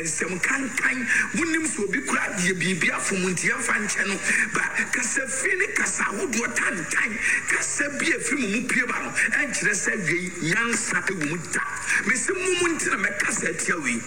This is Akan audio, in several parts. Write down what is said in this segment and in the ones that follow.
Nsɛm kankan, monim sɛ obi koraa deɛ biribi afom nti yɛmfa nkyɛ no, ba kasa fi ne kasa ahodoɔ tantan, kasa bi a ɛfiri mo mu pue ba no, ɛnkyerɛ sɛ wei nyansa wɔ mu da. Mese mo mu nti na mɛkasa atia wei.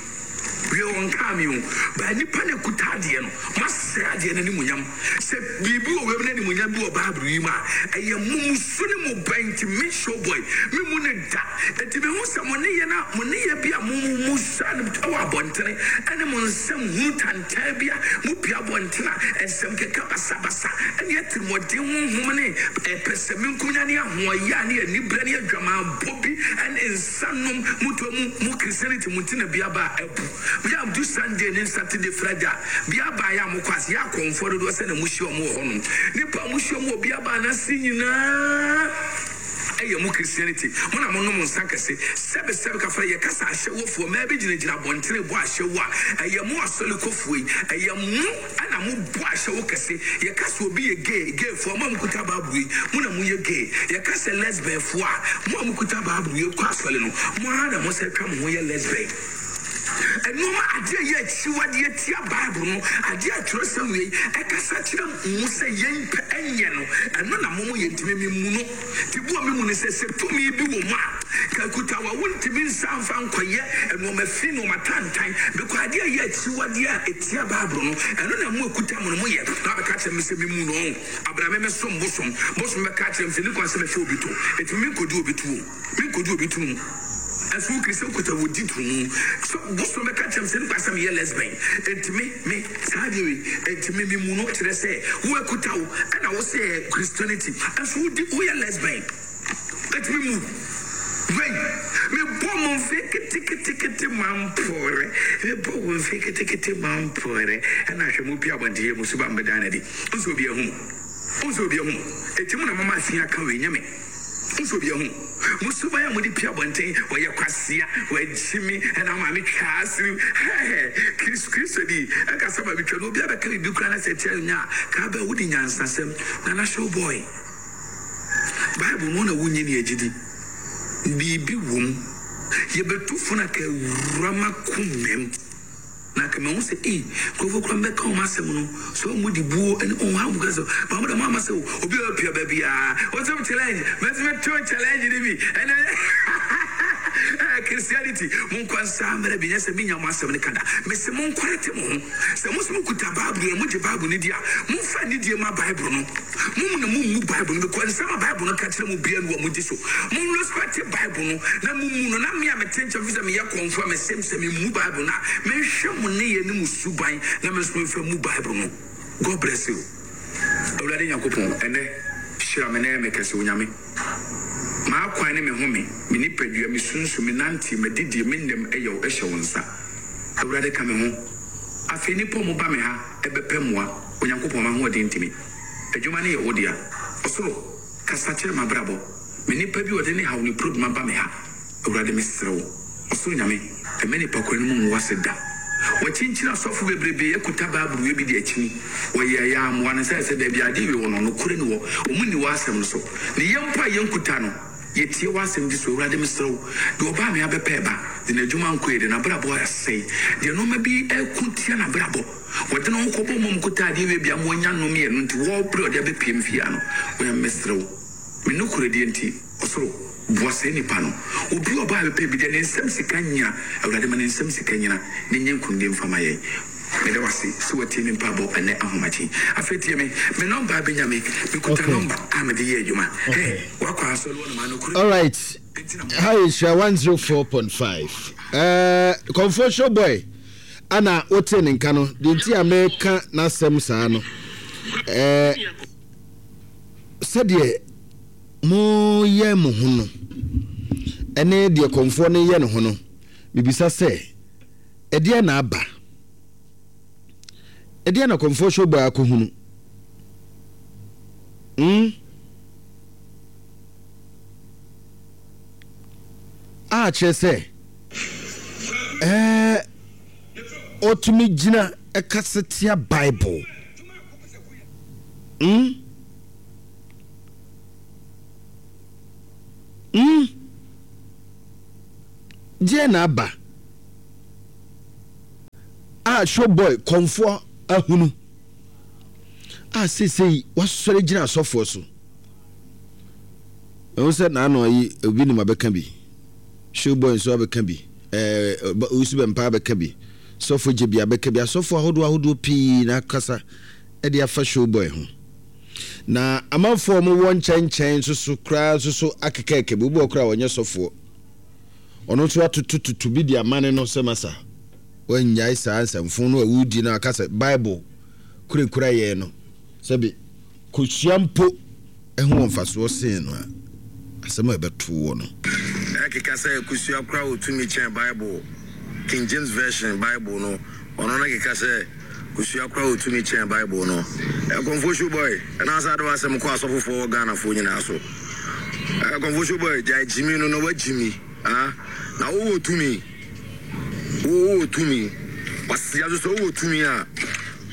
Wei ɔnkaa me o, ba nnipa na ɛkuta adeɛ no, moasɛe adeɛ no animuonyam. Sɛ biribi wɔ wiem na animuonyam bi wɔ Bible yi mu a, ɛyɛ mo mmusu ne mo bɛn nti me showboy, me mu no da. Enti mehu sɛ mo nneyɛɛ no a mo nneyɛɛ bi a mo mo sua no wɔ abɔntene ne mo nsɛm hunu tantan bi a mopue abɔntene a nsɛm keka basabasa ne atirimuɔden honhom ne pɛsɛmenkominya ne ahoɔyaa ne aniberɛ ne adwamammɔ bi ne nsa nom motoa mu mo Christianity mu nti na bi aba a abu. Bi a du Sunday ne Saturday Friday a bi aba a yɛ a mokɔ ase yɛ akɔmfoɔ dodoɔ sɛ na mohyia wɔn wɔ hɔnom. Nnipa a mohyia wɔn wɔ bi aba no ase nyinaa ɛyɛ mo Christianity mo na mo nom nsa kɛse sɛbe sɛbe kafra yɛ kasa ahyɛwofoɔ mmaa bi gyina gyina abɔntene bɔ ahyɛwo a ɛyɛ mo asɔre kɔfoɔ yi ɛyɛ mo ɛna mo bɔ ahyɛwo kɛse yɛ kasa obi yɛ gay gay foɔ mo a mo kuta bible yi mo na mo yɛ gay yɛ kasa lesbian foɔ a mo a mo kuta bible yi kɔ asɔre no mo ara na mo sɛ twa mo ho yɛ lesbian nneɛma adeɛ a ɛyɛ akyiwadeɛ tia Bible no, adeɛ a twerɛsɛm wei ɛkasa kyerɛ mu sɛ yɛn pɛ ɛnyɛ no, ɛno na mo mo yɛ ntumi me mu no. Te bu a me mu no sɛ, sɛ tumi bi wɔ mu a, ka kuta wa wontumi nsa mfa nkɔyɛ nneɛma fi nneɛma tantan, bɛkɔ adeɛ a ɛyɛ akyiwadeɛ a ɛtia Bible no, ɛno na mo akuta mo no mo yɛ, na wabɛka kyerɛ me sɛ me mu no, abra me mɛsom bosom, bosom bɛka akyerɛ me sɛ ne kwan sɛ mɛfa obi to, ɛtumi menkɔdi obi tuo. Menkɔdi obi tunu mu. Ɛnso wo kiri sɛ wokita wɔ di tunu mu. So bosom bɛka kyerɛ me sɛ nipa sɛ meyɛ lesbian. Enti me, me, saa adeɛ wei, enti me, me mu no kyerɛ sɛ wo akuta wo, ɛna wo sɛ ɛyɛ Christianity. Ɛnso wo di, woyɛ lesbian. Enti me mu wei, me bɔ mo mfe ketekete mampore. Me bɔ wo mfe ketekete mampore. Ɛna hwɛ mo pia abɔnten yɛ mo suban bɛdan no adi. Wonsɛ obi ahu mo. Wonsɛ obi ahu mo. Enti mo na mama afi aka wei, nyɛ me. Wosɔ obi ahu. Mo suban a mode pue abɔnten, ɔyɛ kwasea, wagyimi, ɛna maame twaa asiriw, hɛhɛ, Kris, Kristoni, ɛka sɛ maame twa no, obi abɛka biribi koraa na sɛ ɛtia no nya a, kaa bɛ, wode nyansasɛm, Nana show boy. Bible no na wonnye ni agyidi. Biribi wom. Yɛbɛtu fo na ka awura m'akomam. Na anka mahu sɛ ei, nkurɔfoɔ koraa mbɛka wɔn asɛm no, sɛ wɔn de buo ne wɔn ha wɔn kasa, ma wɔn de wɔn ama sɛ obi a ɔpia baabi a, wɔsɛm challenge, mɛsɛ to challenge ne bi, ɛnɛ ɛyɛ Christianity, mo nkɔ nsa mmerɛ bi, nyɛ sɛ menya mo asɛm no kada, mese mo nkɔrɛte mo ho, sɛ mo sɛ mo kuta Bible no, mo gye Bible no di a, mo nfa anidie ma Bible no. Mo mu na mommu Bible no because nsɛm a Bible no ka kyerɛ mo biara ni wɔ mo gye so. Mo respect Bible no na mo mu no na me a mete nkyɛn fi sɛ meyɛ kɔmfo a mesem sɛ memmu Bible no a menhwɛ mo nneyɛɛ ne mo suban na me nso memfa mmu Bible no. God bless you. Awurade Nyankopɔn ɛnɛ hyira me na yɛ me kɛse Onyame. M'akwan ne me home, me nipadua, me sunsum, me nanteɛ, m'adidie, me nnam ɛyɛ wo hyɛ wo nsa. Awurade ka me ho. Afei nnipa a wɔba me ha bɛpɛ mmoa, Onyankopɔn, m'ahoɔden nti me adwuma no yɛ wo dea. Ɔsoro, kasa kyerɛ m'abrabɔ, me nipa bi ɔde ne haw ne problem aba me ha, Awurade mesrɛ wo, Ɔsoro Nyame, mma nipa kwan no mu ngu ase da. Wɔakyinkyini asɔfo bebrebe akuta Bible wei bi de akyini, wɔyɛɛ yɛ ammoa no sɛ sɛ baabi a adeɛ wei wɔ no, nokorɛ ni hɔ, wɔn nni w'asɛm no so, ne yɛn mpo a yɛnkuta no, Yɛtie w'asɛm di so. Awurade mesrɛ wo, deɛ ɔbaa me abɛpɛ ba, deɛ n'adwuma nkɔ yie, deɛ n'abrabɔ asɛe, deɛ nnoɔma bi reko tia n'abrabɔ, wɔde ne ho kɔbɔ mmom kota adeɛ wie bia ma wanya nnome ɛno nti wɔrebrɛ ɔde abɛpue me fie ha no, Onyame mesrɛ wo, me nokorɛdie nti, ɔsoro, boa saa nipa no. Obi a ɔbaa abɛpɛ bi, deɛ ne nsam sika nnyina, Awurade ma ne nsam sika nnyina, na ɛnyɛ nkunimdie mfa ma yɛn. Meda wo ase sɛ woatie me mpaebɔ ɛnnɛ ahomakye. Afei tie me, me nɔmba abɛnya me. Mekuta nɔmba a mede yɛ adwuma. Hey, woakɔ asɔre hɔ nom a, nokorɛ Alright, nti na mo. ha yɛ Nhyira 104.5. Eh, Kɔmfoɔ Show Boy ana wote ne nka no, deɛ nti a meka n'asɛm saa no, eh, sɛdeɛ moyɛ mo ho no, ɛne deɛ kɔmfoɔ no yɛ ne ho no, mebisa sɛ, Ɛdeɛn na aba? Ɛdeɛn na kɔmfoɔ Showboy akɔhunu? Hmm? A kyerɛ sɛ, ɛɛ, ɔtumi gyina ɛkasa tia Bible. Hmm? Hmm? Deɛn na aba? a Showboy kɔmfoɔ ahunu a seesei wasɔre gyina asɔfoɔ so. Ɛho sɛ n'ano yi obi nim abɛka bi. Showboy nso abɛka bi. Ɛɛ Owusu Bɛmpa abɛka bi. Sɔfo Gyebi abɛka bi. Asɔfoɔ ahodoɔ ahodoɔ pii na akasa de afa Showboy ho. Na amanfoɔ a wɔwɔ nkyɛnkyɛn nso so koraa nso so akekaaka bi. Obi wɔ koraa a ɔnyɛ sɔfoɔ. Ɔno nso atotototo bi de amane no sɛ masa. Wannyae saa nsɛmfo no a wodi no aka sɛ Bible kurakura yɛn no sɛbe kosua mpo ho wɔ mfasoɔ sen no a, asɛm a ɛbɛto woɔ no. Ɛkeka sɛ kosua koraa wɔ tumi kyɛn Bible, King James Version Bible no, ɔno no keka sɛ kosua koraa wɔ tumi kyɛn Bible no. Ɛkɔmfoɔ show boy, ɛna asa de w'asɛm kɔ asɔfofoɔ wɔ Ghanafoɔ nyinaa so. Ɛkɔmfoɔ show boy, gyae gyimi no na wagyimi, ah, na wowɔ tumi. Wo wowɔ tumi. Kwasia nso sɛ wowɔ tumi a,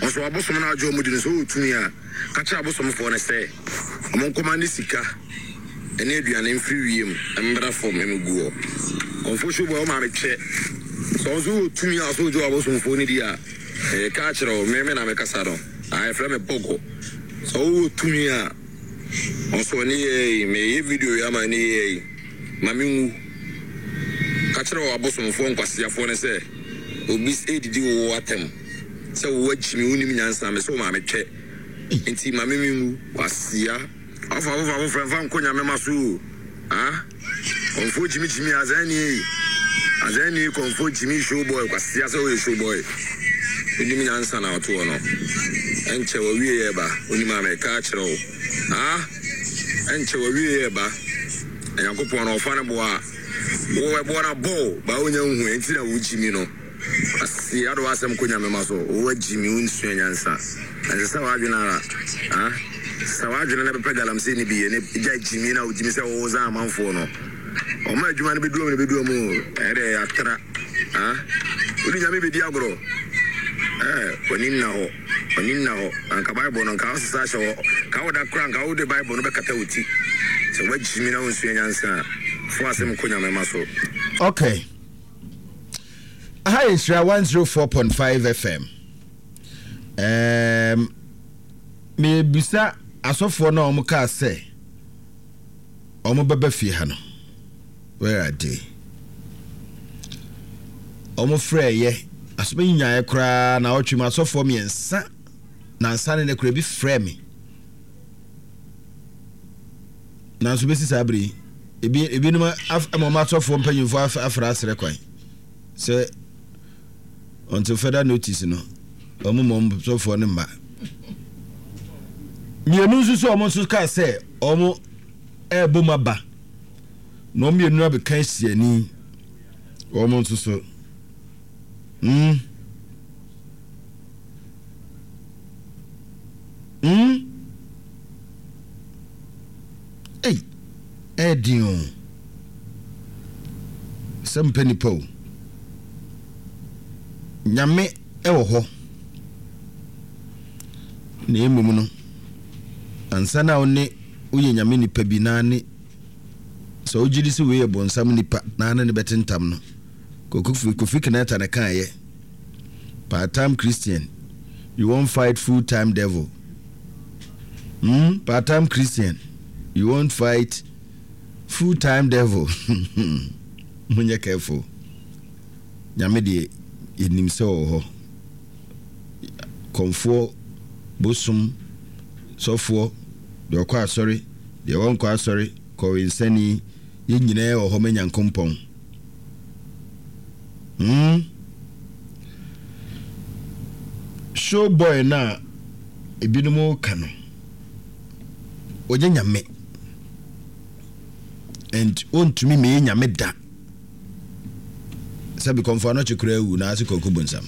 nso abosom no agye wɔn di no, sɛ wowɔ tumi a, ka kyerɛ abosomfoɔ no sɛ wɔn nkɔma ne sika ne aduane mfiri wiem mmra fam mmɛgu hɔ. Kɔmfoɔ Showboy wo maame kyɛ. Sɛ wo nso wowɔ tumi a sɛ wogye w'abosomfoɔ no di a, mereka akyerɛ wo, me me na mekasa no, ah, yɛfrɛ me Bɔgɔ. Sɛ wowɔ tumi a, nso ɛne yɛɛ yi, meyɛ video yi ama ɛne yɛɛ yi. Ma minwu. Ka kyerɛ w'abosomfoɔ nkwaseafoɔ no sɛ, 'Obi redidi wo atɛm sɛ wo akyimi, wonnim nyansa, mese wo maame twɛ nti ma me menwu. Kwasea. Ɔfa foforɔ afoforɔ mfa nkɔ nyame ma so o ah kɔmfoɔ gyimi gyimi azan ni ei azan ni kɔmfoɔ gyimi show boy kwasea sɛ woyɛ show boy wonim nyansa na ɔtoɔ no ɛnkyɛ wawie yɛ ba wonim a meka akyerɛ wo ah ɛnkyɛ wawie yɛ ba. Na Nyankopɔn no ɔfa no boɔ a, wo ɛboɔ no abɔ wo, baa wonya nhu ɛnti na wo gyimi no. Aseɛ ade w'asɛm kɔ Nyame ma so, wo agyimi wo nsua nyansa. Na nsesa w'adwene ara, ah, sesa w'adwene na bɛpɛ galamsey no bi yɛ ne gyae gyimi na wo gyimi sɛ wo zan amanfoɔ no. Ɔma adwuma no bɛdu ɔm na bɛdu ɔm o, ɛyɛ dɛ atra, ah, wode Nyame bɛdi agorɔ, eh, w'ani nna hɔ. W'ani nna hɔ. Na anka Bible no, anka wosesa ahyɛ hɔ. Anka woda koraa, anka wode Bible no bɛkata wo ti. Sɛ woagyimi na wonsua nyansa a, fo asɛm kɔ Nyame mma so. Okay. Aha yɛ Nhyira 104.5 FM. Um, mebisa asɔfoɔ no a wɔn kaa sɛ wɔn bɛba fie ha no. Where are they? Wɔn frɛ yɛ asɔfo nyaeɛ koraa na ɔtwe mu asɔfoɔ mmiɛnsa nansa ne ne koraa ebi frɛ me. Nanso bɛsi saa bere yi ebi ebinom ama wɔn asɔfoɔ mpanyinfoɔ afra asrɛ kwan sɛ until further notice no wɔn mmɔ wɔn sɔfoɔ no mma. Mmienu nso so wɔn nso kaa sɛ wɔn ɛrebɔ mu aba. Na wɔn mmienu abɛka asiani wɔn nso so. Mm. Mm. Ei, ɛyɛ den o. Sɛ mpɛ nipa o. Nyame ɛwɔ hɔ. Na mmom no, ansa na wo ne woyɛ nyame nipa bi na ne Sɛ wogye di sɛ wei yɛ bonsam nipa na ne ne bɛtentam no, Kofi, Kofi Kinata na kaeɛ. Part time Christian, you won't fight full time devil. Hmm, part time Christian, you won't fight full time devil. Monyɛ careful. Nyame deɛ yɛnim sɛ ɔwɔ hɔ. Kɔmfoɔ, bosom, sɔfoɔ, deɛ ɔkɔ asɔre, Deɛ ɔnkɔ asɔre, kɔwensani, yɛn nyinaa wɔ hɔ ma Nyankompɔn. Hmm? Show boy no a ebinom ka no, ɔnyɛ nyame. And ɔntumi mɛyɛ nyame da. Sɛbi kɔmfo anɔkye koraa awu na ase kɔkɔ bonsam.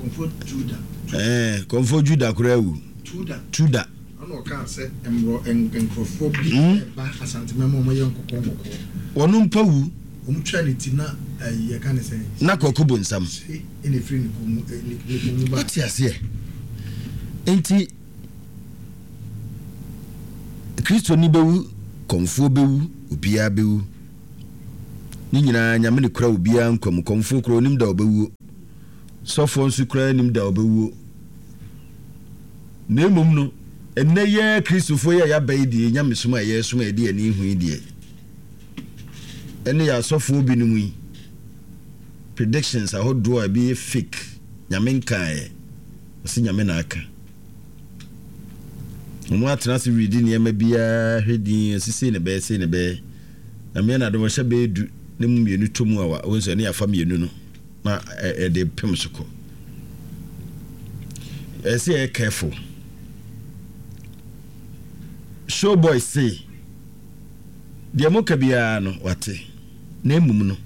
Kɔmfo Juda. Ɛɛ kɔmfo Juda koraa awu. Tuda. Tuda. Ɛna ɔkaa sɛ mmorɔ nkurɔfoɔ bi hmm? ba Asantema mu a wɔyɛ nkɔkɔɔ nkɔkɔɔ. Wɔn mpa wu. Wɔn twa ne ti na ɛyi yɛka ne sɛn. Na kɔkɔ bonsam. Se ɛna efiri ne kɔn mu ne kɔn mu ba. Wote aseɛ? Nti Kristoni bɛwu, kɔmfoɔ bɛwu, obiara bɛwu. Ne nyinaa Nyame ne kura obiara nkwa mu. Kɔmfoɔ kura onim da ɔbɛwuo. Sɔfoɔ nso koraa nnim da a ɔbɛwuo. Na mmom no, ɛnnɛ yi ara Kristofoɔ yi a yɛaba yi deɛ, nyamesom a yɛresom a yɛde yɛn ani hu yi deɛ, ɛne yɛn asɔfoɔ binom yi, predictions ahodoɔ a ebi yɛ fake, Nyame nkaeɛ, ɔse Nyame na aka. Wɔn atena ase redi nneɛma biara hwɛ din, ɔse sei na ɛbɛyɛ, sei na ɛbɛyɛ. Nyame yɛ n'adom ɔhyɛ bɛyɛ du ne mu mmienu tɔ mu a, wɔn nso ɛne afa mmienu no. na yɛde pem so kɔ. Ɛsɛ sɛ yɛyɛ careful. Showboy se deɛ moka biara no wate na mmom no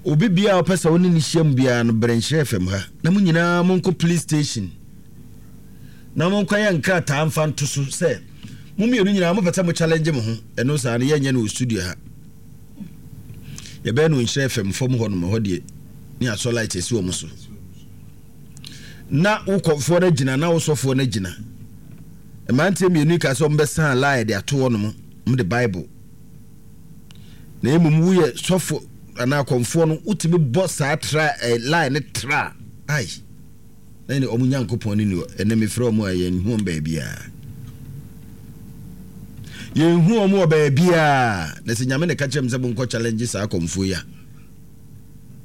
obi biara ɔpɛ sɛ wo ne ne hyia mu biara no brɛ nhyira fam ha na mo nyinaa monkɔ police station na monkɔyɛ nkrataa mfa nto so sɛ mo mmienu nyinaa mopɛ sɛ mo challenge mo ho ɛno saa no yɛnyɛ no wɔ studio ha. Yɛbɛyɛ no nhyira fam fam hɔ nom ɛhɔ deɛ ne asɔ light asi wɔn so na wo kɔfoɔ no agyina na wo sɔfoɔ no agyina mmeranteɛ mmienu yi ka sɛ wɔbɛsan line de ato hɔ nom wɔn de bible na mmom woyɛ sɔfo anaa kɔmfoɔ no wotumi bɔ saa tra eh, line ne tra ai Na ɛne wɔn Nyankopɔn no nni hɔ. Ɛnnɛ mefrɛ wɔn a, yɛnhu wɔn baabiara. Yɛnhu wɔn wɔ baabiara. Na sɛ Nyame na ɛka kyerɛ me sɛ monkɔ challenge saa akɔmfoɔ yi a,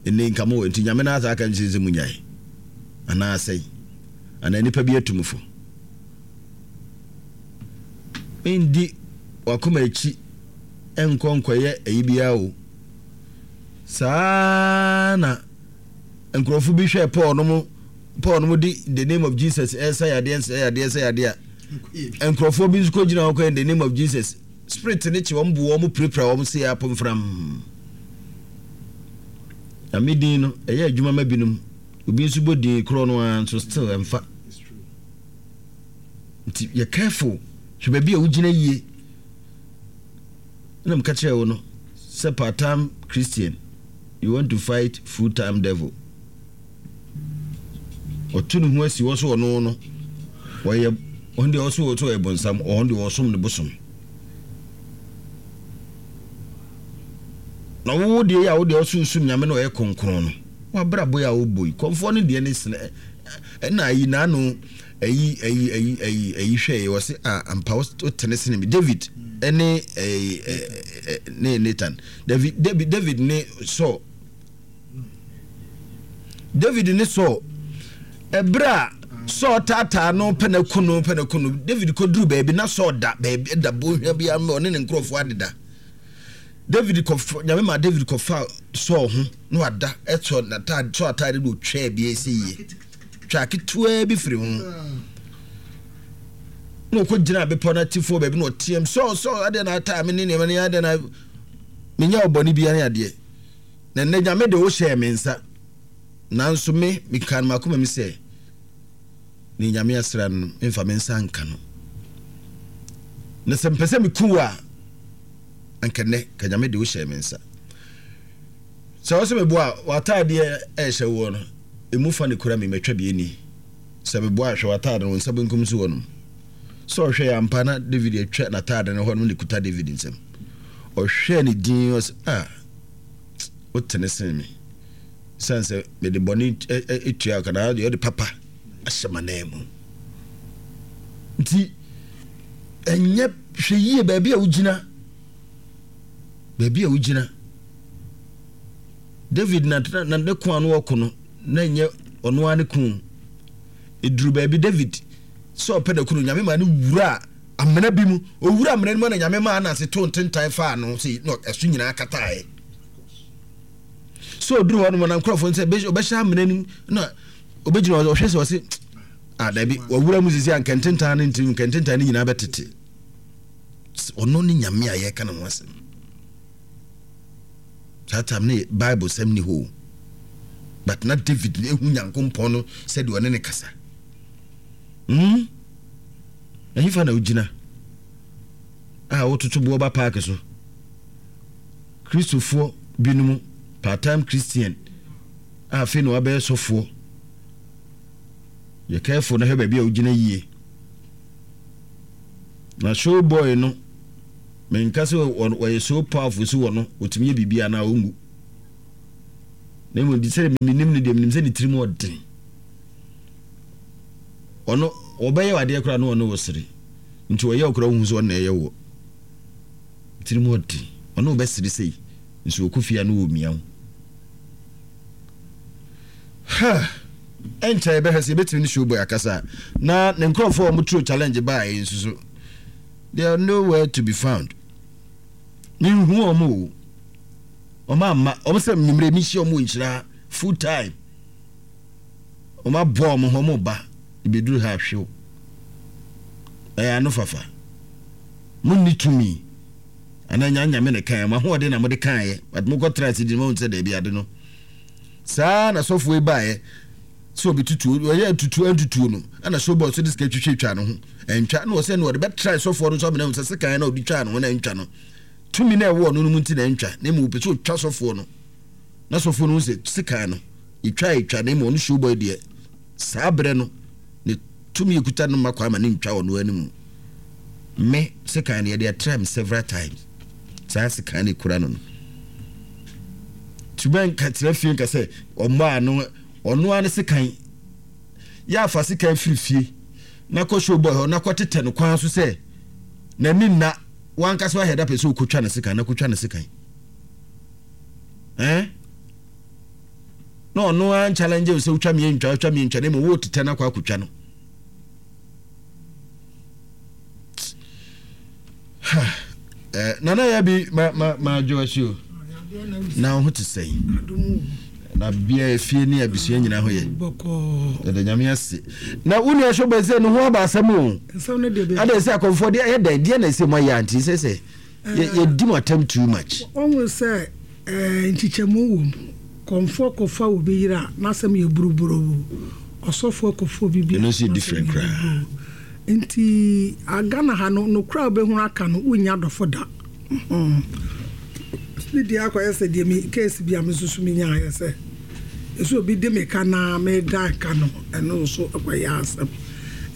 ɛnnɛ nka mo nti Nyame no asa aka nkyerɛ sɛ munyae anaa asɛe anaa nipa bi atu mo fo. Mendi wakoma akyi nkɔ nkɔyɛ ayi biara o. Saa na nkurɔfo bi hwɛɛ Paul nom Paul nom de the name of Jesus ɛsa yadeɛ nsa yadeɛ nsa yadeɛ a nkurɔfoɔ bi nso kɔgyina hɔ kɔyɛ the name of Jesus spirit ne kye wɔn bu wɔn pirapira wɔn se apomfram Nyame din no ɛyɛ adwuma ma binom obi nso bɔ din korɔ no ara nso still ɛmfa nti yɛ careful hwɛ baabi a wogyina yie na meka kyerɛ wo no sɛ part time Christian You want to fight full time devil. Ɔto ne ho asi hɔ so ɔno no ɔyɛ ɔno deɛ ɔso ɔso ɔyɛ bonsam ɔno deɛ ɔsom ne bosom. Na wo deɛ yi a wo deɛ ɔso sum nyame na ɔyɛ kronkron no wabrabɔ yi a wobɔ yi kɔnfoɔ no deɛ ne sene ɛna ayi n'ano ayi ayi ayi ayi ayi hwɛ yi wɔse a ampa wotene sene me David ɛne ɛɛ ne Nathan David, David, David ne Saul. David ne Saul. Ɛberɛ a Saul taataa no pɛ na ku no pɛ na ku no David kɔduru baabi na Saul da baabi da bonhwa bi ama ɔne ne nkurɔfoɔ adeda. David kɔfa nyame ma David kɔfa Saul ho na wada ɛsɔ n'ataade Saul ataade na otwaa bi ɛsɛ yie twaa ketewaa bi firi ho na ɔkɔ gyina bepɔ no atifoɔ baabi na ɔteam Saul Saul adeɛ na ataa me ne nneɛma ne adeɛ na Menyɛɛ wo bɔne biara ne adeɛ, na nnɛ Nyame de wo hyɛɛ me nsa. Nanso me, mekaa no m'akoma mu sɛ, Nea Nyame asra no no, memfa me nsa nka no. Na sɛ mepɛ sɛ meku wo a, anka nnɛ, ka Nyame de wo hyɛɛ me nsa. Sɛ wo sɛ meboa a, w'ataadeɛ a ɛhyɛ woɔ no, emu fa na ekura me, matwa bi ani. Sɛ meboa a, hwɛ w'ataade no, wo nsa benkum so hɔ nom. Sɛ ɔhwɛɛ ampa na David atwa n'ataade no hɔ nom na ekuta David nsam. Ɔhwɛɛ ne din ɔsɛ ah wotene sen me. Esiane sɛ mede bɔne tua ka na deɛ ɔde papa ahyɛ m'anan mu. Nti ɛnyɛ hwɛ yie baabi a wogyina baabi a wogyina. David na na ne ko ano ɔko no na ɛnyɛ ɔno ara ne ko. Eduru baabi David sɛ ɔpɛ na kunu Nyame maa no wuraa amena bi mu. Owura amena no mu na Nyame maa ananse too ntentan faa no sei na ɛso nyinaa kataaɛ. Sɛ ɔduru hɔ nom na nkurɔfoɔ sɛ ɔbɛhyɛ amena no mu na ɔbɛgyina hɔ ɔhwɛ sɛ ɔse ah dabi wawura mu sisi a nkɛntentan no nti nkɛntentan no nyinaa bɛtete. Ɔno ne Nyame a yɛka ne ho asɛm. Saa time ne Bible sɛm ni hɔ o. But na David na ehu Nyankompɔn no sɛdeɛ ɔne ne kasa. Hmm? Ɛhefa na wogyina a wototo boɔ ba paake so? Kristofoɔ binom, part-time Christian a afei na wabɛyɛ sɔfoɔ. Yɛ careful na hwɛ baabi a wogyina yie. Na show boy no, menka sɛ wɔyɛ so powerful so wɔ no, wɔtumi yɛ biribi anaa ɔngu. Na mmom sɛ menim no deɛ menim sɛ ne tirim ɔden. Ɔno ɔbɛyɛ adeɛ koraa na ɔne wo sere. Nti ɔyɛ wo koraa wohu sɛ ɔno na ɛyɛ woɔ. Tirim ɔden. Ɔne wo bɛsere sei nso ɔkɔ fie a na ɔmia wo. Ha! Ɛnkyɛ yɛbɛhwɛ sɛ yɛbɛtumi ne Showboy akasa na ne nkurɔfoɔ a wɔturo challenge baeɛ nso so they are nowhere to be found. Menhu wɔn o. Wɔn amma. Wɔn sɛ mmerɛ mehyia wɔn wɔ nhyira full time. Wɔn aboa wɔn ho wɔn ba. Ebeduru ha ahwew. Ɛyɛ ano fafa. Monni tumi. Anaa nya nyame na kan. Mo ahoɔden na mode kaeɛ. But mokɔ tra ase di no sɛ daabi ade no. Saa na sɔfoɔ yi baeɛ sɛ ɔbɛtutuo ɔyɛ tutuo antutuo no ɛna showboy so de sika twitwitwa ne ho ɛntwa na ɔsɛ no ɔde bɛtra sɔfoɔ no nso amena sɛ sekan na ɔde twaa ne ho na ɛntwa no tumi na ɛwɔ ɔno no mu nti na ɛntwa na mmom ɔpɛ sɛ ɔtwa sɔfoɔ no na sɔfoɔ no hu sɛ sekan no ɛtwa ɛtwa na mmom ɔno showboy deɛ saa berɛ no ne tumi ekuta no mma kwan ma ne ntwa ɔno anim me sekan no yɛde atra me several times saa sekan no ekura no no tuma nka tena fie nka sɛ ɔmmɔ ano ɔno ara ne sekan yɛ afa sekan firi fie na kɔ showboy hɔ na kɔ tetɛ no kwan so sɛ n'ani nna wankasa wahɛ da pɛ sɛ ɔkɔtwa ne sekan na kɔtwa ne sekan eh? na ɔno ara nchallenge wo sɛ wotwa meɛ ntwa wotwa meɛ ntwa na mmom wotetɛ no akɔ akɔtwa no eh, nana yɛ bi ma ma ma adwo akyi o na wo ho te sɛn na bia efie ne abusua nyinaa ho yɛ yɛda nyame ase na wo nua so bɛ sɛ ne ho aba asɛm o ada sɛ akɔmfoɔ deɛ ɛyɛ dɛn deɛ na ɛsɛ mu ayɛ ante sɛ sɛ yɛdi mu atɛm too much wɔhu sɛ Nkyekyɛmu wɔ mu. Kɔmfoɔ kɔfa obi yere a, n'asɛm yɛ buruburoo. Ɔsɔfoɔ kɔfa obi bi a, n'asɛm yɛ buruburoo. Nti Ghana ha no, nokorɛ a wobɛhunu aka no, wonnya adɔfo da. Me deɛ akɔyɛ sɛ deɛ me case bi a me nso so menyaeɛ sɛ, ɛsɛ obi de me ka na medan ka no, ɛno nso kɔyɛ asɛm.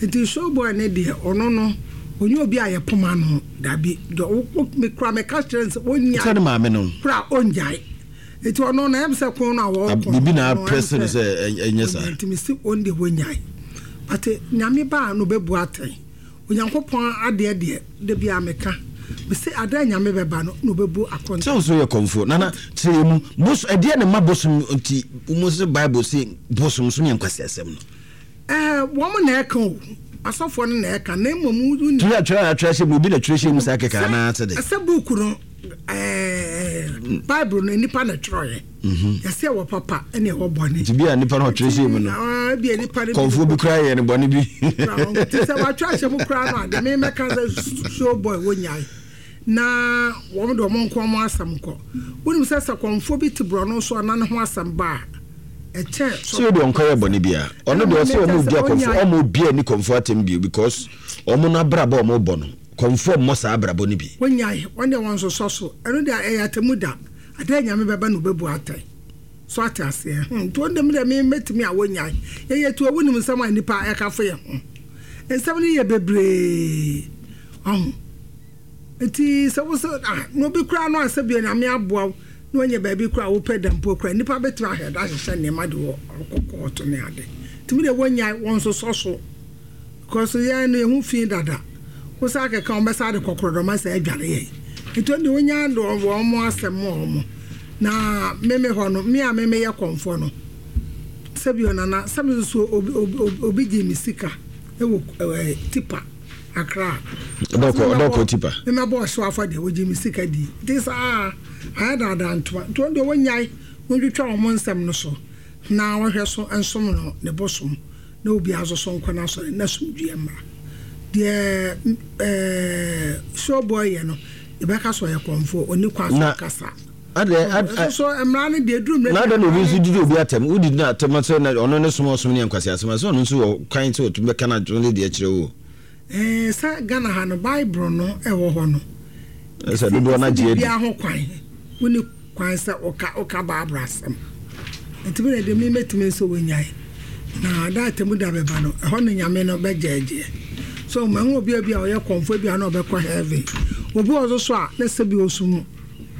Nti Showboy no deɛ, ɔno no, ɔnyɛ obi a yɛpoma no. Dabi, deɛ wo wo me kura meka kyerɛ no sɛ ɔnyae. Sɛ ne maame no. Kura ɔnyae. Nti ɔno na ɛm sɛ ko no a wɔko no. Biribi na aprɛse no sɛ ɛnyɛ saa. Nti me se ɔn deɛ wɔnyae. But Nyame ba a na ɔbɛbu atɛn. Onyankopɔn adeɛ deɛ da biara meka. Me se ada a Nyame bɛba no na ɔbɛbu akonta. Sɛ wo so yɛ kɔmfoɔ. Nana kyerɛ yɛ mu. Bosom ɛdeɛ na ɛma bosom nti mo se bible se bosom som yɛ nkwaseasɛm no. Ɛɛ, wɔn na ɛka o, asɔfoɔ no na ɛka, na mmom wo nim. Twerɛ atwerɛ a atwerɛ ahyɛ mu, obi na twerɛ hyɛ mu saa kɛkɛ anaa sɛ dɛn? Sɛ book no, ɛɛ, Bible no, nnipa na ɛtwerɛeɛ. Yɛsɛ ɛwɔ papa ɛna ɛwɔ bɔne. Nti bi a nnipa no ɔtwerɛ hyɛ mu no, bi a nnipa no kɔnfoɔ bi koraa yɛ no bɔne bi. Nti sɛ wɔatwerɛ ahyɛ mu koraa no a, deɛ memɛka sɛ show boy wɔnyae. Na wɔn de wɔn nko wɔn asɛm kɔ. Wonim sɛ sɛ kɔmfoɔ bi te borɔno so a na ne ho asɛm ba a, ɛkyɛn sɛ. Sɛ deɛ ɔnkɔyɛ bɔne biara. Ɔno deɛ ɔsɛ wɔn di akɔmfoɔ, wɔn obi ani kɔmfoɔ atɛm bio because wɔn no abrabɔ a wɔn bɔ no, kɔmfoɔ mmɔ saa abrabɔ no bi. Wɔnyae, wɔn deɛ wɔn nsosɔ so. Ɛno deɛ ɛyɛ atɛmu da. Ada a Nyame bɛba na ɔbɛbu atɛn. So ate aseɛ? Hmm, nti wɔn deɛ me deɛ me mɛtumi a wɔnyae. Yɛyɛ tuo, wonim nsɛm a nnipa ɛka fa yɛn ho. Nsɛm no yɛ bebree. Wahu? Nti sɛ wo sɛ ah na obi koraa no a sɛ bia Nyame aboa wo na wanya baabi koraa a wopɛ da mpo koraa nnipa bɛtumi ahwɛ da ahyehyɛ nneɛma de wɔ akɔ kɔɔto ne ade. Nti me deɛ wɔnyae wɔnsosɔ so because yɛn no yɛn ho fi dada. Wo saa kɛkɛ wɔn bɛsa de kɔkɔrɔdɔma sɛ adware yɛn. Nti wɔn deɛ wɔnya de wɔn asɛm ma wɔn. Na me me hɔ no me a me meyɛ kɔmfoɔ no sɛbi ɔnana sɛ me nso obi obi obi gye me sika ɛwɔ ɛɛ tipa. Accra. Ɔdɔkɔ ɔdɔkɔ tipa. Me mɛbɔ ɔhyew afɔdeɛ wɔgye me sika di nti saa ayɛ daadaa ntoma nti wɔn deɛ wɔnyae wɔntwitwa wɔn nsɛm no so na wɔhwɛ so nsom no ne bosom na obiara nso so nkɔ n'asɔre na asomdwoeɛ mmra deɛ ɛɛ showboy yɛ no yɛbɛka sɛ ɔyɛ kɔmfoɔ ɔni kwan so kasa. Adɛ ad Ɛso so mmara no deɛ ɛduru mmerɛ na adɛn na obi nso didi obi atɛm wodidi no atɛm sɛ na ɔno ne som ɔsom ne yɛ nkwaseasɛm a sɛ ɔno nso wɔ kwan sɛ ɔtumi bɛka n'adwene ne deɛ kyerɛ wo. Ɛɛ sɛ Ghana ha no Bible no ɛwɔ hɔ no. Ɛsɛ dodoɔ no agye adi. Biara ho kwan wonni kwan sɛ woka woka Bible asɛm. Nti me deɛ me mɛtumi nso wɔnyae. Na da atɛmu da bɛba no ɛhɔ no Nyame no bɛgyɛɛgyeɛ. So mahu obi a bi a ɔyɛ kɔmfoɔ bi a na ɔbɛkɔ heaven. Obi wɔ so so a na sɛbi ɔsum.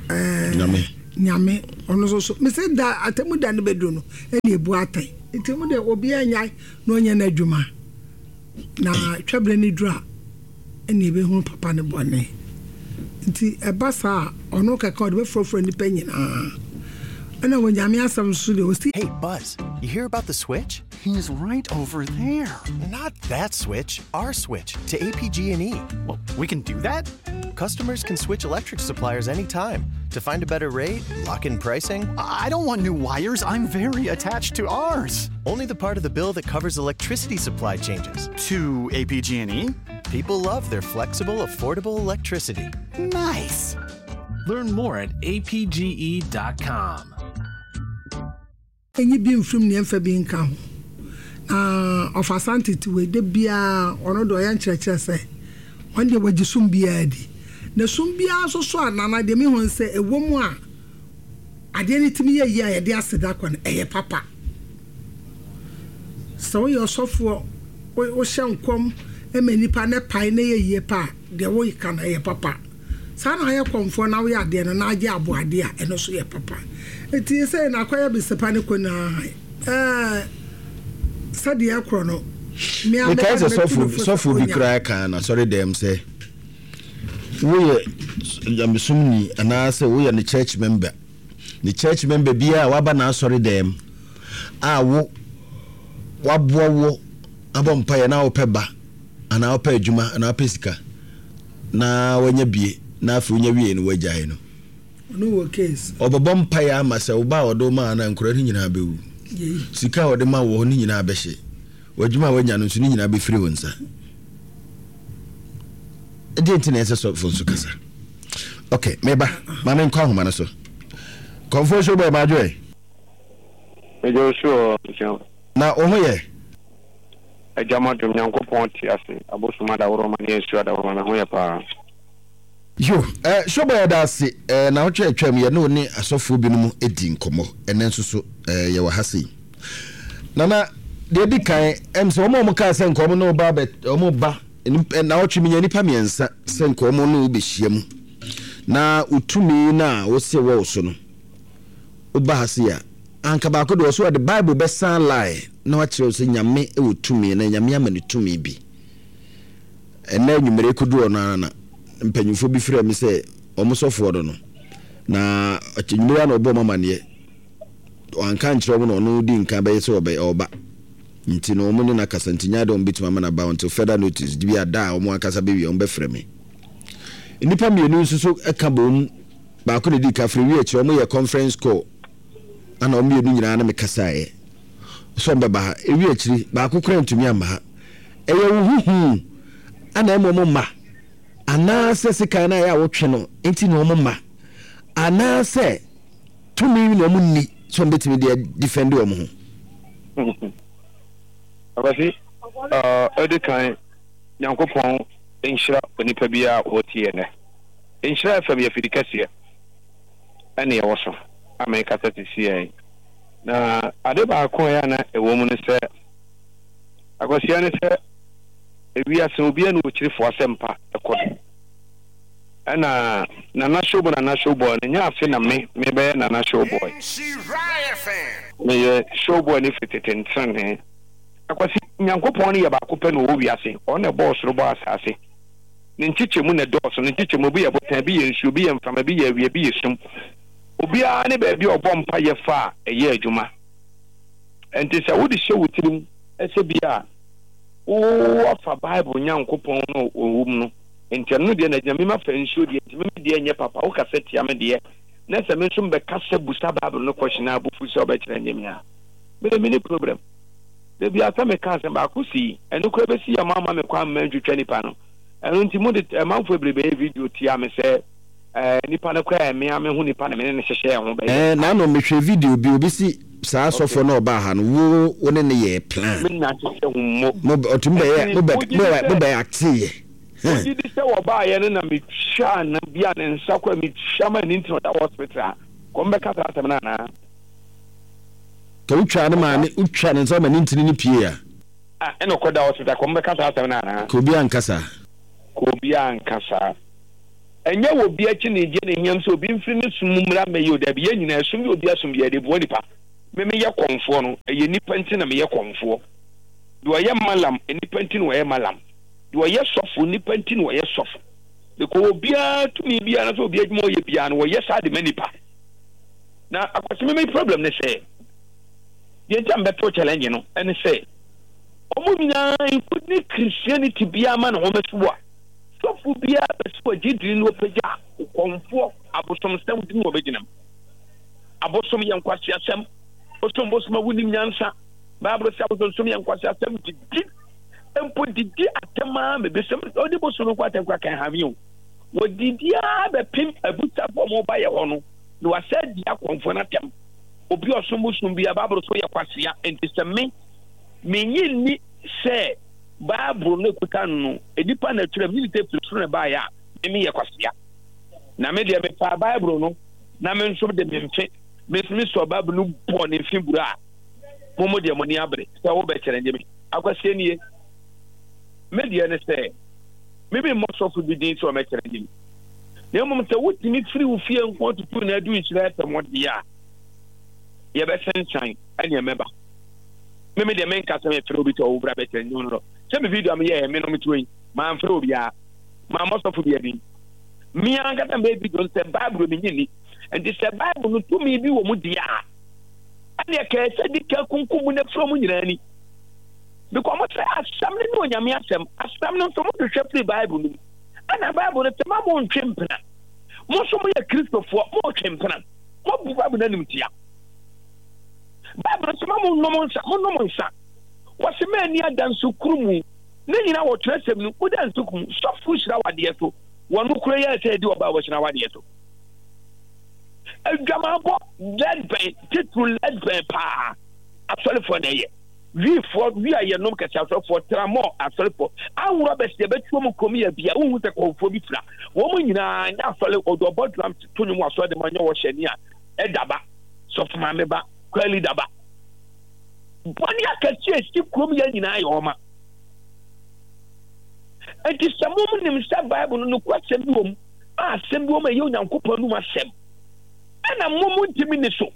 Nyame. Nyame. Ɔno nso so, mese da atemmu da no bɛduru no, ɛna ɛbu atɛn. Nti mo deɛ obiara nnyae na ɔnyɛ n'adwuma, na twɛberɛ no duru a, ɛna ɛbɛhunu papa ne bɔne. Nti ɛba saa a, ɔno kɛkɛ ɔde bɛfurafura nnipa nyinaa. Ɛna wɔ Nyame asɛm nso deɛ ɔsi. Hey Buzz, you hear about the switch? He's right over there. Not that switch, our switch to APG&E. Well, we can do that? Customers can switch electric suppliers anytime to find a better rate, lock in pricing. I don't want new wires. I'm very attached to ours. Only the part of the bill that covers electricity supply changes. To APG&E? People love their flexible, affordable electricity. Nice. Learn more at apge.com. Nyi bi mfiri mu na yɛmfa bi nka ho. Na ɔfa saa ntetewei, da biara ɔno deɛ ɔyɛ nkyerɛkyerɛ sɛ ɔno deɛ wagye som biara di. Na som biara nso so a Nana deɛ mehu ne sɛ ɛwɔ mu a adeɛ no tumi yɛ yie a yɛde aseda kɔ no ɛyɛ papa. Sɛ woyɛ ɔsɔfoɔ wohyɛ nkɔm ma nnipa na ɛpae na ɛyɛ yie pa a deɛ woka no ɛyɛ papa. Saa na ayɛ kɔmfoɔ na woyɛ adeɛ no na agye aboadeɛ a, ɛno nso yɛ papa. Nti sei na akɔyɛ besepa ne konaa ɛɛ sɛdeɛ ɛkorɔ no, me ara Mekae mɛka sɛ no mɛtu sɔfo no fo sɛ sɔfo bi ɔnya. koraa kaa no asɔredɛm sɛ woyɛ nyamesomni anaasɛ woyɛ ne church member ne church member biara a waba n'asɔredɛm a wo waboa wo abɔ mpaeɛ na wopɛ ba anaa wopɛ adwuma anaa wopɛ sika na wanya bie na afei wonya wiei no wagyae no. Ɔno wɔ case. Ɔbɛbɔ mpaeɛ ama sɛ wo ba a ɔde wo maa no a nkwadaa no nyinaa bɛwu. Sika a ɔde ma wɔ hɔ no nyinaa bɛhye. W'adwuma a wanya no nso ne nyinaa bɛfiri wo nsa. Ɛdeɛ nti na ɛsɛ sɔfo nso kasa. Ok, meba. Ma menkɔ ahoma no so. Kɔmfoɔ show boy madwo ɛ. Megye wo so ɔ. Na wo ho yɛ? Agya m'adom Nyankopɔn te ase abosom adaworoma ne asuo adaworoma me ho yɛ paa. Yo, eh, Showboy yɛda ase eh, naawɔtwe a atwam yɛne wo ne asɔfoɔ binom di nkɔmmɔ, ɛnɛ nso so eh, yɛwɔ ha sei. Nana, deɛ ɛdi kan, ɛm sɛ wɔn a wɔn kaa sɛ nka wɔn ne wo ba bɛ, wɔn ba, eh, naawɔtwe menya nnipa mmiɛnsa sɛ nka wɔn ne wo bɛhyia mu na wo tumi no a wose wɔ wo so no, woba ha sei a, Anka baako deɛ ɔso ɔde bible bɛsan lie na wakyerɛ wo sɛ Nyame wɔ tumi na Nyame ama no tumi bi. Ɛnɛ anwummere kɔduru ɔno ara na mpanyinfoɔ bi frɛ me sɛ wɔn sɔfoɔ no no na anwummere ara na ɔbɔ wɔn amaneɛ wanka ankyerɛ wɔn na ɔno di nkan bɛyɛ sɛ ɔbɛ ɔba nti no wɔn ne no akasa nti nyɛ adeɛ wɔn bɛtumi ama no aba until further notice bi a da a wɔn ankasa bɛwie wɔn bɛfrɛ me. Nnipa mmienu nso so ka bom baako na ɛdi ka frɛ wie akyire wɔn yɛ conference call Ana wɔn mmienu nyinaa ne me kasaeɛ sɛ wɔbɛba ha. Ɛwie akyiri, baako koraa ntumi amma ha. Ɛyɛ wo ho hu ana ɛma wɔn mma? Anaasɛ sekan no a ɛyɛ a wotwe no nti na wɔn mma? Anaasɛ tumi na wɔn nni sɛ wɔbɛtumi de adifɛnde wɔn ho? Akwasi, Ɔdi kan, Nyankopɔn nhyira onipa biara a ɔretie yɛn nnɛ. Nhyira FM yɛ afidi kɛseɛ. ɛne ɛwɔ so a merekasa sisiɛ yi. Na ade baako a ɛyɛ a na ɛwɔ mu ne sɛ, akwasia ne sɛ ewiase obiara ne okyirifo asɛmpa ɛkɔ do. Ɛna Nana Showboy Nana Showboy no nyɛ afe na me mebɛyɛ Nana Showboy. Meyɛ Showboy no firi tete ntenenee. Akwasi, Nyankopɔn no yɛ baako pɛ na ɔwɔ wiase, ɔno na ɛbɔɔ soro bɔɔ asaase. Ne nkyekyɛmu na ɛdɔɔso. Ne nkyekyɛmu, ebi yɛ botan, ebi yɛ nsuo, ebi yɛ mframa, ebi yɛ awia, ebi yɛ sum. Obiara ne baabi a ɔbɔ mpaeɛ fa a ɛyɛ adwuma. Ɛnti sɛ wode hyɛ wo tirim sɛ bi a woafa Bible Nyankopɔn no a ɔwɔ mu no, nti ɛno deɛ na agyina, me mafa nsuo deɛ, nti me me deɛ nyɛ papa, wokasa tia me deɛ, na sɛ me nso mebɛkasa busa Bible no question a abufu sɛ wobɛkyerɛ nye me a, me deɛ menni problem. Da biara sɛ meka asɛm baako sii, ɛno koraa bɛsi yɛ moamma me kwan mma ntwitwa nipa no. Ɛno nti mode amanfoɔ bebree bɛyɛ video tia me sɛ eh, nipa no koraa ɛmea me ho nipa na me ne no hyehyɛɛ ho bɛyɛ. Eh, naano mehwɛ video bi, obi si saa sɔfoɔ no a ɔbaa ha no, wo wo ne no yɛɛ plan. Me nna hyehyɛ ho mmo. Mo ɔtumi bɛyɛ, Ɛnti mo bɛ wogye di mo bɛ sɛ mo bɛ acteeɛ. Huh. Wogye di sɛ wɔbaeɛ no na metwaa no bi a ne nsa kɔ a metwa ma ne nti na ɔda hospital a, kɔm bɛka saa asɛm no anaa? Ka wotwaa ne maame, wotwaa ne nsa ma ne ntini no pue a. A ɛna ɔkɔda hospital, kɔm bɛka saa asɛm no anaa? Ka obiara nka saa. Ka obiara nka saa. Ɛnyɛ wɔ obi akyi na egye ne hiam sɛ obi mfiri ne som mu mmra mmɛyɛ o, dabi, yɛn nyinaa, ɛsom bi a obi asom biara, yɛde boa nipa. Me meyɛ kɔmfoɔ no, ɛyɛ nnipa nti na meyɛ kɔmfoɔ. Deɛ ɔyɛ malam, nnipa nti na ɔyɛ malam. Deɛ ɔyɛ sɔfo, nnipa nti na ɔyɛ sɔfo. Because obiara tumi biara anaasɛ obiara adwuma a ɔyɛ biara no, wɔyɛ saa de ma nnipa. Na Akwasi me me problem ne sɛ, deɛ nti a mebɛto challenge no ɛne sɛ, wɔn nyinaa including Christianity biara ma ne ho mɛso a, sɔfo biara pɛ sɛ ɔgye dini na ɔpagya kɔmfoɔ abosomsɛm din wɔbɛgyina mu. Abosom yɛ nkwaseasɛm. Wosom bosom a wonim nyansa. Bible sɛ abosonsom yɛ nkwaseasɛm didi mpo didi atɛm ara ma ebi sɛm ɔde bosom no nkɔ atɛm kora kan hame o. Wɔdidi ara bɛpem abusafo a wɔba yɛ hɔ no na wɔasɛ di akɔmfoɔ no atɛm. Obi ɔsom bosom bi a Bible so yɛ kwasea nti sɛ me menye nni sɛ Bible no ekuta no no nnipa na ɛtwerɛ menye sɛ firi soro na ɛbaeɛ a me meyɛ kwasea. Na me deɛ mefaa Bible no na me nso de me mfe me nso mesɔɔ Bible no bɔɔ ne mfe bura a mo mo deɛ mo ani abere sɛ wobɛkyerɛ nye me. Akwasie nie. Me deɛ ne sɛ me me mmɔ sɔfo bi din sɛ ɔmɛkyerɛ nye me. Na mmom sɛ wotumi firi wo fie nko tutu na adu nhyira FM deɛ a yɛbɛsensan ɛneɛ mɛba. Me me deɛ menka sɛ mefrɛ obi sɛ ɔwo bra bɛkyerɛ nye no no. Sɛ me video a meyɛɛ me no metuo yi mamfrɛ obiara. Mammɔ sɔfo bi din. Me ankasa mɛyɛ video no sɛ Bible menye nni. Nti sɛ Bible no tumi bi wɔ mu deɛ a, ɛneɛ kɛɛ sɛ di ka kunkum mu na firi ɔmo nyinaa ni. Because ɔmo sɛ asɛm no ne Onyame asɛm. Asɛm no nso mo hwehwɛ firi Bible no mu. Ɛna Bible no sɛ ma mo ntwe mpena. Mo nso mo yɛ Kristofoɔ, mo twe mpena. Mo bu Bible no anim tia. Bible no sɛ ma mo nom nsa, mo nom nsa. Wɔse ma ani ada nsukuru mu. Ne nyinaa wɔ twerɛsɛm no mu. Woda nsukuru mu, sɔfo hyira wadeɛ so. Wɔn kura yɛ sɛ ɛdi ɔbaa wɔhyira wadeɛ so. Adwamanbɔ lɛdbɛn titiriw lɛdbɛn paa asɔrefoɔ na ɛyɛ. Wifoɔ wi a yɛnom kɛse asɔrefoɔ tramɔ asɔrefoɔ ahorow abɛsi ɛbɛtuo mu kurom yɛ bia wohu sɛ kɔnfoɔ bi fira wɔn nyinaa nyɛ asɔre ɔde ɔbɔ drum to nwom wɔ asɔre de ma nyɛ wɔhyɛ ni a ɛda ba sɔfo maame ba kwali da ba bɔne akɛse a ɛsi kurom yɛ nyinaa yɛ ɔma. Enti sɛ mom nim sɛ Bible no nokwasɛm bi wɔ mu a asɛm bi wɔ mu a ɛyɛ Onyankopɔn anum asɛm, ɛna mom ntumi ni so,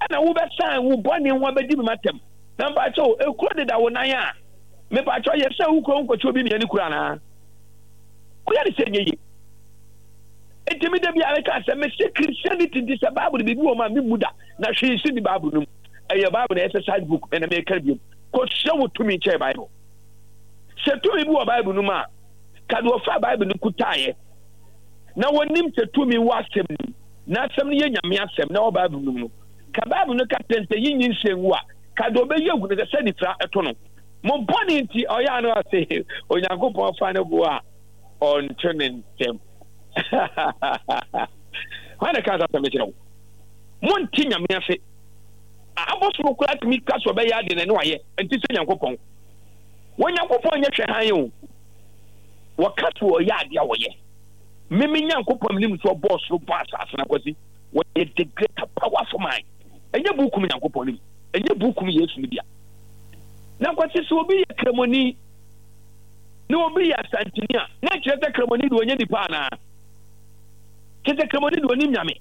ɛna wobɛsan wo bɔne ho abɛdi me matam. Na mpakyɛw, ekuro deda wo nan a, mepakyɛw yɛ sɛ wo kuro nkɔkyɛ obi mmiɛ ne kuro anaa? Woyɛ ne sɛ nyɛ yie. Enti me da biara meka sɛ mese Christianity nti sɛ Bible biribi wɔ mu a memmu da, na hwee si ni Bible no mu. Ɛyɛ Bible na exercise book ɛna meka biom. Kɔhyɛ wo tumi nkyɛn Bible. Sɛ tumi bi wɔ Bible no mu a, ka deɛ ɔfaa Bible no kutaeɛ na wɔnim sɛ tumi wɔ asɛm no mu, na asɛm no yɛ Nyame asɛm na ɛwɔ Bible no mu no. Ka Bible no ka kyerɛ no sɛ yi nyinsɛn ngu a, ka deɛ ɔbɛyi agu no sɛ sɛ nifira ɛto no. Mo bɔne nti ɔyɛ ano ase Onyankopɔn fa ne bo a ɔnto ne ntɛm. Hwan na ɛka saa asɛm no kyerɛ wo? Monte Nyame ase. Abɔsoro koraa tumi ka sɛ ɔbɛyɛ ade na ɛne wayɛ, ɛnte sɛ Nyankopɔn. Wɔ Nyankopɔn nyɛ hwɛ hann o. Wɔka sɛ ɔyɛ ade a wɔyɛ. Me me Nyankopɔn menim sɛ ɔbɔɔ soro bɔɔ asase na kwasi wɔyɛ the greater powerful man. Ɛnyɛ buku mu Nyankopɔn no bi. Ɛnyɛ buku mu Yesu no bia. Na kwasi sɛ obi yɛ kramoni na obi yɛ asantini a na ɛkyerɛ sɛ kramoni de ɔnyɛ nipa anaa? Kyerɛ sɛ kramoni de ɔnim Nyame.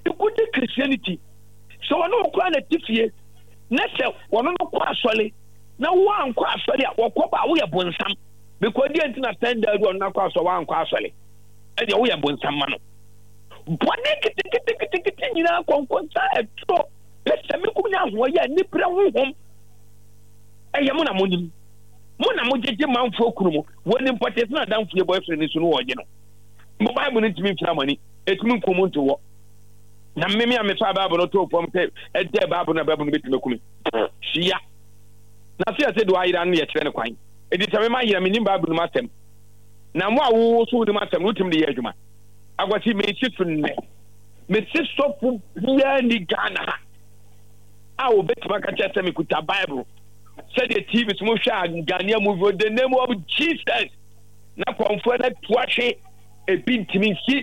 Ikudi Christianity sɛ ɔne wo koraa na te fie na sɛ wɔno no kɔ asɔre na woankɔ asɔre a wɔkɔ ba a woyɛ bonsam because deɛ nti na sɛn da adu ɔno akɔ asɔre woankɔ asɔre ɛdeɛ woyɛ bonsam ma no bɔne nketenkete nyinaa kɔnkɔnsa ɛtoro pɛsɛmenkum ne ahoɔyɛ a nibrɛ honhom ɛyɛ mo na monim mo na mogyegye manfoɔ kunu mu wɔnim pɔtee sɛ n'adamfo yɛ boyfriend nso no wɔgye no mo bible no ntumi mfira mo ani ɛtumi nku mo nto hɔ na mmemme a mefa bible no too fam sɛ ɛdɛ bible no a bible no bɛtumi akumi hyia na sɛ yɛsɛ de wayera no yɛkyerɛ no kwan ɛti sɛ mema yera menim bible no mu asɛm na mo a wowo so wonim asɛm no wotumi de yɛ adwuma akwasi mesi so nnɛ mese sɔfo biara ni Ghana ha a wɔbɛtumi aka kyerɛ sɛ mekuta bible sɛdeɛ tv so mohwɛ a Ghanaian movie the name of Jesus na kɔmfoɔ no atu ahwe ebi ntumi nsi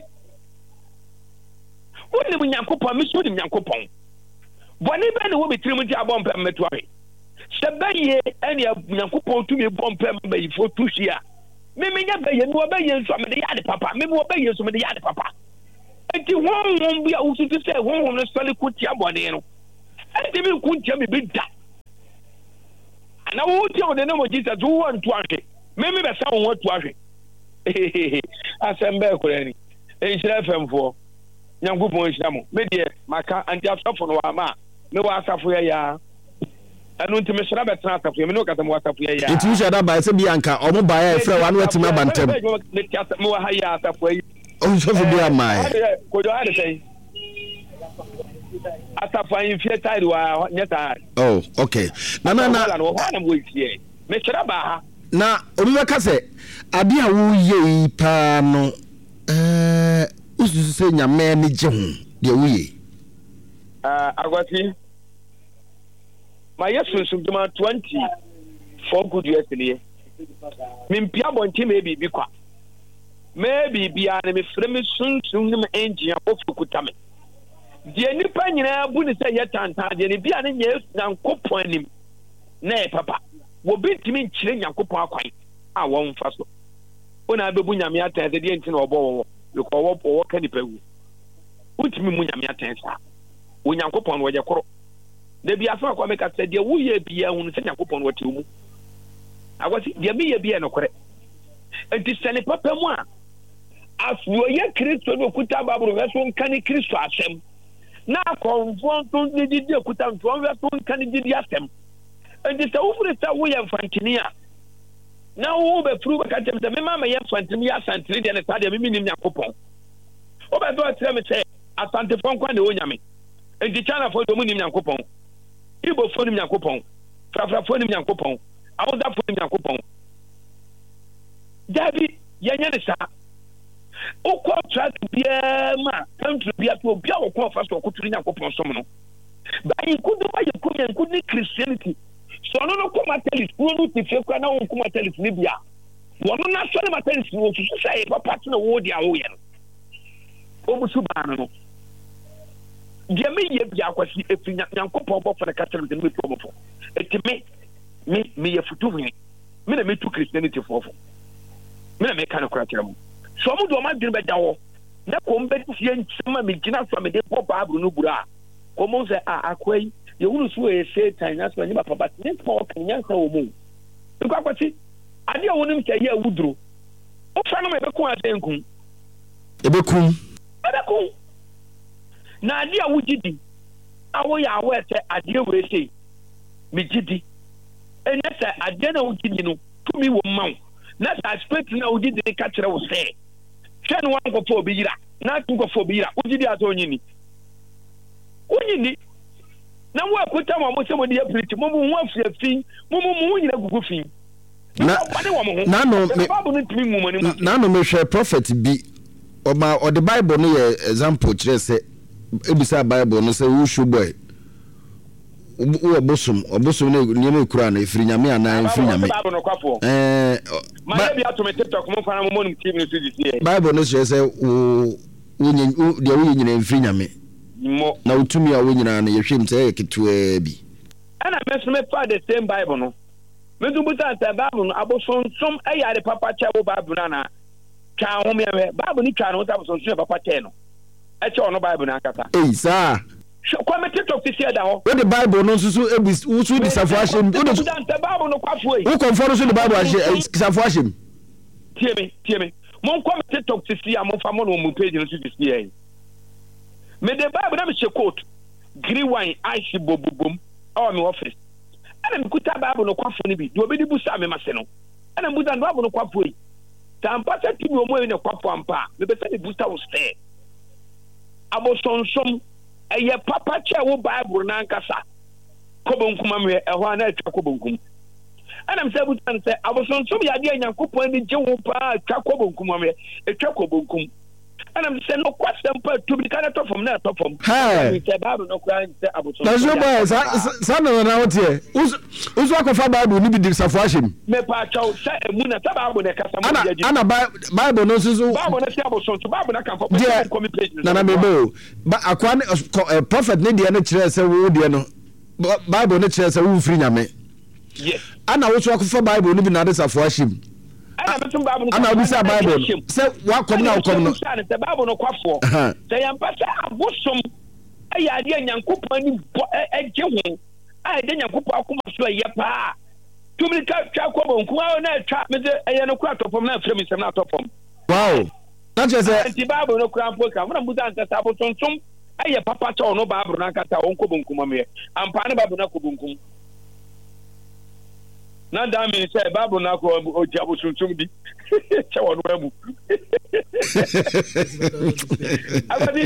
wonim Nyankopɔn me so nim Nyankopɔn Bɔne bɛn na ɛwɔ me tirim nti abɔ mpae ma matu ahwe? Sɛ bɛyɛ ɛne Nyankopɔn tumi bɔ mpae ma bayifoɔ tu hwe a, Me menyɛ bɛyɛ, mewɔ bɛyɛ nso a mede yɛ ade papa. Me mewɔ bɛyɛ nso mede yɛ ade papa. Enti honhom bi a wosusu sɛ honhom no sɔre ko tia bɔne no, ɛntumi nko ntia me bi da. Ana wo tia wo de ne mo Jesus wo antu ahwe. Me me bɛsa wo ho atu ahwe. Asɛm bɛɛ koraa ni. Nhyira FM foɔ. Nyankopɔn nhyira mo. Me deɛ maka anti asɔfo no wama a mewɔ asafo yɛ yaa. Ɛno nti mesɔre abɛtena asafo yɛ me ne wo kasa mewɔ asafo yɛ yaa. Nti wohyɛ da baeɛ sɛ bi anka ɔmo baeɛ a ɛfrɛ wo ano atumi aba ntɛm. Mewɔ ha yɛ asafo yi. Ɔsɔfo bi amaeɛ. Kojo ha de sɛn? Asafo ahemfie side wa nyɛ saa. Oh, okay. Na na na. Wɔ hɔ na mewɔ fie. Mesɔre baa ha. Na obi bɛka sɛ adeɛ a woyɛ yi paa no ɛɛ wosusu sɛ Nyame ani gye ho deɛ woyɛ yi? Akwasi, mayɛ sunsumdwuma 24 good years nie. Mempia abɔnten mɛyɛ biribi kwa. Mɛyɛ biribiara no mefrɛ me sunsum ne me engine abɔfo kuta me. Deɛ nnipa nyinaa bu ne sɛ ɛyɛ tantan deɛ ne bia ne nyɛ Nyankopɔn anim na ɛyɛ papa. Wɔbi ntumi nkyerɛ Nyankopɔn akwan a wɔmfa so. Wo na abɛbu Nyame atɛn sɛ deɛ nti na ɔbɔ wɔwɔ because ɔwɔ ɔwɔ ka nipa wu. Wontumi mmu Nyame atɛn saa. Onyankopɔn no ɔyɛ koro. Da bi asɛm akɔ meka sɛ deɛ woyɛ biara hunu sɛ Nyankopɔn no ɔte wo mu. Akwasi, deɛ meyɛ biara nokorɛ. Enti sɛ ne papa mu a, afei ɔyɛ Kristo ne okuta Bible nhwɛ so nka ne Kristo asɛm. Na akɔmfoɔ nso ne gyidi okuta nso ɔnhwɛ so nka ne gyidi asɛm. Enti sɛ wofiri sɛ woyɛ mfantini a, na wo bɛfiri wobɛka kyerɛ me sɛ mema mɛyɛ mfantini meyɛ asantene deɛ ne saa deɛ me mennim Nyankopɔn. Wobɛ sɛ ɔkyerɛ me sɛ Asantefoɔ nkoa na ɛwɔ Nyame. Enti Chinafoɔ deɛ ɔmo nnim Nyankopɔn. Igbofoɔ nim Nyankopɔn. Frafrafoɔ nim Nyankopɔn. Awusafoɔ nim Nyankopɔn. Daabi, yɛnyɛ ne saa. Wokɔ track biara mu a, country biara so obi a wɔkɔ ɔfa so ɔkoto ne Nyankopɔn som no. Ba nkudu ba yɛ kum yɛn nkudu ne Christianity. Sɛ ɔno no kɔ Methodist kuro no te fie koraa na wɔnkɔ Methodist no bi a, wɔno n'asɔre Methodist no wɔsusu sɛ ɛyɛ papa sene wo deɛ a woyɛ no. Wɔn su baa no no. Deɛ meyɛ biara Kwasi, ɛfiri Nyankopɔn bɔfo no ka kyerɛ me sɛ metu wɔn fo. Eti me, me, meyɛ futuhene. Me na metu Christianity foɔ fo. Me na meka nokorɛ kyerɛ mo. Sɛ wɔn de wɔn adwene bɛda hɔ na kɔm bɛtie nsɛm a megyina so a mede bɔ Bible no bura a, kɔm bɛhu sɛ, ah, akoa yi, yɛhunu so ɔyɛ Satan, nanso ɛnyɛ papa, but ne nsɛm a ɔka no, nyansa wɔ mu. Nkɔ Kwasi, adeɛ a wonim sɛ ɛyɛ awuduro, wofa no ma ɛbɛku anaa sɛ ɛnku? Ɛbɛkum. Ɛbɛkum. Na adeɛ a wogye di, a woyɛ aware sɛ adeɛ wei sei, megye di. Ɛnyɛ sɛ adeɛ no a wogye di no, tumi wɔ mu ma wo, na saa spirit no a wogye di no ka kyerɛ wo sɛ, hwɛ no wankɔfa obi yera, na atumi kɔfa obi yera, wogye di a sɛ onnye nni? Wonnye nni. Na mo a ɛkuta mo a mo sɛ mo de yɛ pirikyi, mo mo ho afiri fi, mo mo mo ho nyina gugu fi. Na, na no, me, na no mehwɛ prophet bi, ɔma ɔde Bible no yɛ example kyerɛ sɛ, ebisa Bible no sɛ wo show boy, wowɔ bosom, ɔbosom no nneɛma ekura no efiri nyame anaa efiri nyame. Ɛɛ, Bible no kyerɛ sɛ wo wonyɛ deɛ woyɛ nyinaa mfiri nyame. Na wo tumi a wowɔ nyinaa no yɛhwɛ mu sɛ ɛyɛ ketewaa bi. Ɛna me nso mefaa the same Bible no. Me nso bisaa sɛ Bible no abosonsom yɛ ade papa kyɛ wo Bible no anaa? Twaa ho meɛhwɛ. Bible no twaa ne ho sɛ abosonsom yɛ papa kyɛɛ no. Ɛkyɛ ɔno Bible no ankasa. Ei, saa? Hwɛ, kɔ me TikTok sisi ɛda hɔ. Wode Bible no nso so ebi wo so de safo ahyɛ mu. Wode so. Bible no kwafoɔ yi. Wo kɔnfɔ no so de Bible ahyɛ safo ahyɛ mu. Tie me, tie me. Monkɔ me TikTok sisi a momfa mo no mo page no so sisi yɛ. Mede Bible na mehyɛ coat, green wine, ice bobobom ɛwɔ me office. Ɛna mekuta Bible no kwafoɔ no bi, deɛ obi de busa me mase no. Ɛna mbusa no Bible no kwafoɔ yi. Sɛ ampa sɛ tumi wɔ mu yi na kwafoɔ ampa a, mepɛ sɛ mebusa wo sɛ abosonsom ɛyɛ papa kyɛ wo Bible no ankasa kɔ bonkum amehwɛ ɛhɔ a na atwa kɔ bonkum. Ɛna mesɛ busa no sɛ abosonsom yɛ adeɛ a Nyankopɔn ani gye ho paa atwa kɔ bonkum amehwɛ atwa kɔ bonkum. Ɛna mesɛ sɛ nokwasɛm pa tu mirika na ɛtɔ fam na ɛtɔ fam. Hɛɛ. Sɛ Bible no koraa nsɛ abosonsom yɛ adeɛ papa. Saa na na woteɛ. Woso akɔfa Bible no bi de safoa ahyɛ mu. Mepaakyɛw sɛ emu na sɛ Bible na ɛkasa mu Ana ana Bible no nso so. Bible no sɛ abosonsom Bible no aka mfa deɛ nkɔ me page no. Nana mebe o. Ba akoa ne kɔ prophet ne deɛ no kyerɛ sɛ wo deɛ no Bible no kyerɛ sɛ wo mfiri Nyame. Yes. Ana woso akɔfa Bible no bi na ade safoa ahyɛ mu. Ɛna me nso Bible no Ana wobisa Bible no sɛ wakɔm na wokɔm no. Ɛna sɛ Bible no kwafoɔ. Sɛ yɛmpa sɛ abosom ɛyɛ adeɛ a Nyankopɔn ani bɔ ɛgye ho a ɛda Nyankopɔn akoma so ɛyɛ paa. Tumi ka twa kɔ bonkum a na ɛtwa me sɛ ɛyɛ no kora atɔ fam na afiri me nsam na atɔ fam. Wow. Na kyerɛ sɛ. Nti Bible no kora mpo ka. Mona musa nkasa abosonsom ɛyɛ papa sɛ ɔno Bible no ankasa ɔnkɔ bonkum ameɛ. Ampa ne Bible no akɔ bonkum. Na that means sɛ Bible no akɔ ɔgye abosonsom di kyɛ wɔn amu. Awurade,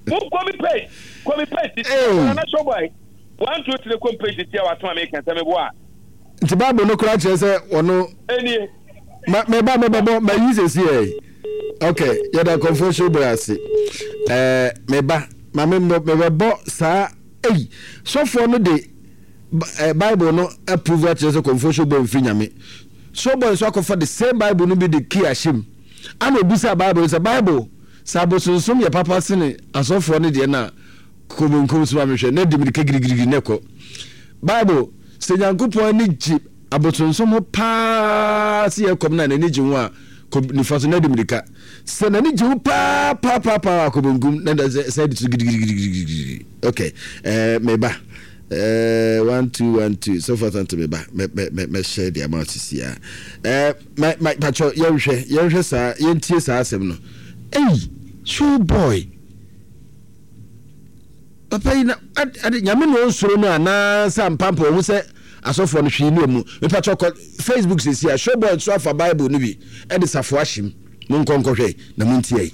mo kɔ mi page, kɔ mi page titi, kɔ na show boy. 1 2 3 kɔ mi page titi a watoma mi kɛntɛ mi bo a. Nti Bible no koraa kyerɛ sɛ ɔno. Enie. Ma meba mebɛbɔ ma yi sɛsi ɛ. Okay, yɛda kɔnfoɔ show boy ase. Ɛɛ meba ma me mebɛbɔ saa ei sɔfoɔ no de Bible no approve akyerɛ sɛ kɔmfoɔ showboy mfiri Nyame. Showboy nso akɔfa the same Bible no bi de key ahyɛ mu. Ana obisaa Bible no sɛ, Bible, sɛ abosonsom yɛ papa sene asɔfoɔ no deɛ no a, kɔ benkum so ma mehwɛ, na di mirika girigirigiri na ɛkɔ. Bible, sɛ Nyankopɔn ani gye abosonsom ho paa sɛ yɛ kɔm no a n'ani gye ho a, kɔ nifa so na di mirika. Sɛ n'ani gye ho paa paa paa paa a, kɔ benkum na sɛ de so gidigirigirigiri. Okay, eh, meba. Eh, 1212 sɔfo asante me ba mɛ mɛ mɛ mɛhyɛ de ama sisi a eh mɛ mɛ patro yɛnhwɛ yɛnhwɛ saa yɛntie saa asɛm no ei show boy papa yi na ade nyame na ɔnsoro no anaasɛ ampampa ɔhu sɛ asɔfoɔ no hwee ne ɔmu mepatro kɔ facebook sisi a show boy nso afa bible no bi ɛde safoa ahyem monkɔ nkɔhwɛ na montie.